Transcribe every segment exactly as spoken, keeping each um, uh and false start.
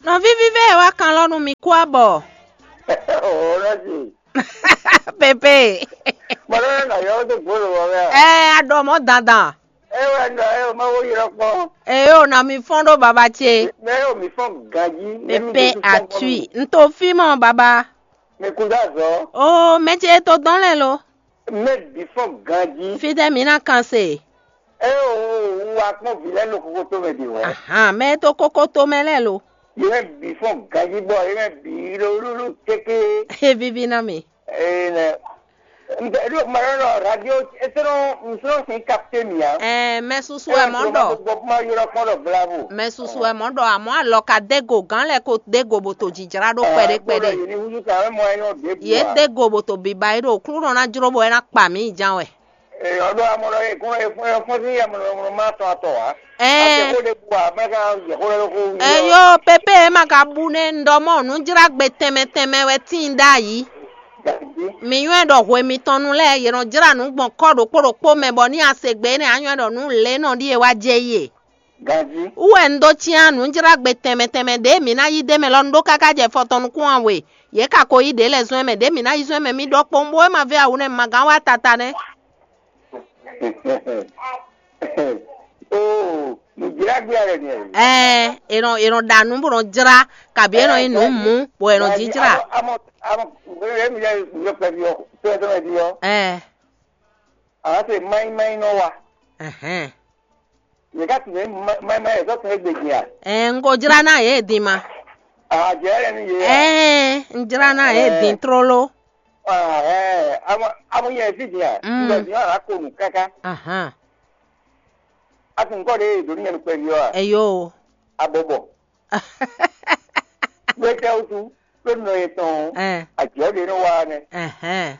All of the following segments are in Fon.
Nɔví vívɛ e wá kan lɔ nú mi kú abɔ. Ɔɔ, nɔ si. Pepe. Mɔɖɔ nɔ yɔ dó gbolo wɔ mɛ. Ɛ, a ɖɔ mɔ dandan. E wɛ nɔ e o ma wo yrɔ kpɔ. Eye o na mi fɔn ɖo baba ce. Mɛ o mi fɔn ganji. Pepe atui. N to fi mɔ baba. Mi kun dó azɔ. O mɛ ce to dɔn lɛ lo. Mɛ bi fɔn ganji. Fitɛ mi na kan se. E o wa kpɔn vi lɛ lo kokoto mɛ di wɛ. Ahan, mɛ to kokoto mɛ lɛ lo. Yɛ mɛ bi fɔn ganji bɔ yɛ mɛ bi lolulu teke. E vivi na mi. Ee nɛ. N tɛ ɖo ma ɖɔ ɖɔ radio esɔnɔ nsɔnɔ sin capte mi a. Ɛɛ, mɛ susu wɛ mɔ ɖɔ. Bɔ kuma yɔrɔ kpɔn ɖɔ bravo. Mɛ susu wɛ mɔ ɖɔ, amɔ alɔ ka dego gán lɛ ko dego bò to jijra ɖo kpɛɖé kpɛɖé. Yɛ ni wuzu ka wɛ mɔ ayɔ de bu. Ye dego bò to biba yi ɖo klunɔ na jro bɔ ɛ na kpa mi jan wɛ. Ee, ɔdɔ amɔ ɖɔ ye kún ye fún ye fún sí amɔ ɖɔ ma tɔn atɔ wa. Ɛɛ. Ate ko de bu a mɛ ka ye ko ɖe ko wi. Eyo, pepe e ma ka bu nɛ un ɖɔ mɔ nǔjlágbe tɛnmɛ tɛnmɛ wɛ tíin ɖ'ayǐ. Mi nywɛ́ ɖɔ hwe mitɔn nu lɛ́ɛ, yě nɔ jlá nǔ gbɔn kɔ́ ɖokpó ɖokpó mɛ, bɔ ní a se gbe énɛ́, a nywɛ́ ɖɔ nǔ lě nɔ ɖíe wá jɛ yí e. Ganjí. Wú wɛ un dó cyán nǔjlágbe tɛnmɛ tɛnmɛ ɖě mǐ ná yí d'é mɛ lɔ, un ɖó káká jɛ fɔ tɔn nukún ɔ́ we. Yě ka ko yí ɖě lɛ́ɛ zɔ́n ɛ mɛ, ɖě mǐ ná yí zɔ́n ɛ mɛ, mi ɖɔ kpowun bó é ma vɛ́ awu nɛ́, ma gán wá tata nɛ́. Oo, nǔjlágbé alɛ nìyẹn. Ɛɛ, è nɔ è nɔ ɖa nǔ bó nɔ jlá, kabi è nɔ nyí nǔ mú, bɔ è nɔ jínjlá. Amɔ amɔ amɔ emi yɛ yɔ kpɛvi ɔ, kpɛvi ɔ. Ɛɛ. Àwọn ṣe mayi mayi nɔ wa. Ɛhɛn. Yɛ ká tún mayi mayi yɛ sɔ tún egbe din a. Ɛɛ, n ko jlá ná yě din ma. Àjẹ́ rẹ̀ ni yé a. Ɛɛ, n jlá ná yě din tlóló. Ɛɛ, amɔ amɔ yɛ fi din a. Mm. N bɛ din a ko nu káká. Ahan. A tún kɔ de do ní yẹn kpɛvi ɔ a. Eyo. Abɔbɔ. Gbɛtɛ wutu ló nɔ yɛ tɔn. Ɛɛ. Àjẹ́ de nɔ wa nɛ. Ɛhɛn.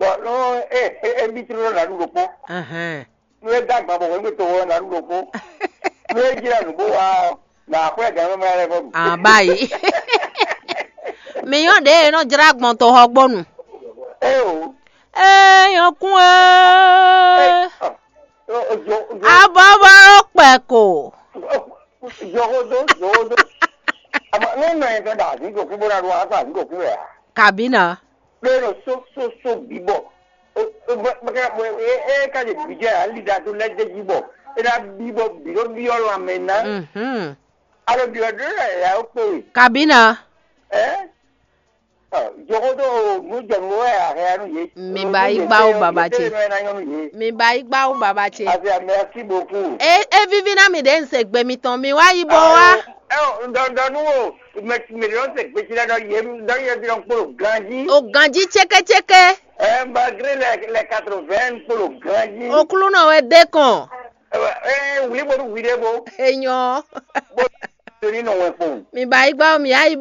Bɔn nɔ e e e bi tlóló nanu ɖokpó. Ɛhɛn. Nú é dó agban bɔ hwɛ̌ gbe toxo ɔ́ ná ɖu ɖokpó. Nú é jlɛ́ nǔ bó wá ɔ́, nǎ xwlɛ́ gǎn mɛ lɛ́ɛ vɔ ɖu. Abáyi. Mi nyɔ́ ɖě e nɔ jlá gbɔn toxɔ gbɔnu. É o. Ee, nyɔkún ee. Abɔbɔ kpɛ ko. Jɔxódó, jɔxódó. Àmọ́ ní nɔ yẹn fẹ́ dà àdínkù kú bó ná ɖu wá sọ àdínkù kú rẹ̀ á. Kabina. Lórí só só só bíbọ̀. É é ká lè bìjẹ́ àlídàtú lẹ́jẹ́jì bọ̀. É ná bíbọ̀ bìlóbíyọ́ lanmɛ ná. Mhm. Alo bìlódó yà ó pè. Kabina. Ẹ́ jɔxódó nú jɔ̀nú wɛ àhɛ nú yě. Mi ba yí gbá ó baba ce. Mi ba yí gbá ó baba ce. Àti àmì ẹsí bòkú. E e vivi ná mi ɖe nse gbe mitɔn mi wá yí bɔ wá. Ẹ ò ǹdọ̀ǹdọ̀ nú o mẹtìmẹtì ló ń ṣe gbèsè lẹ́dọ̀ yé dọ́yé bí wọ́n kpolo ganjí. O ganjí tsékétséké. Ẹ malgré les les quatre-vingts kpolo ganjí. Oklúnɔ wɛ dé kàn. Ẹ wuli bolu wuli bo. Enyɔ. Bo torí nù wẹ̀ kpọ̀n. Mi ba yí gbá mi yá yí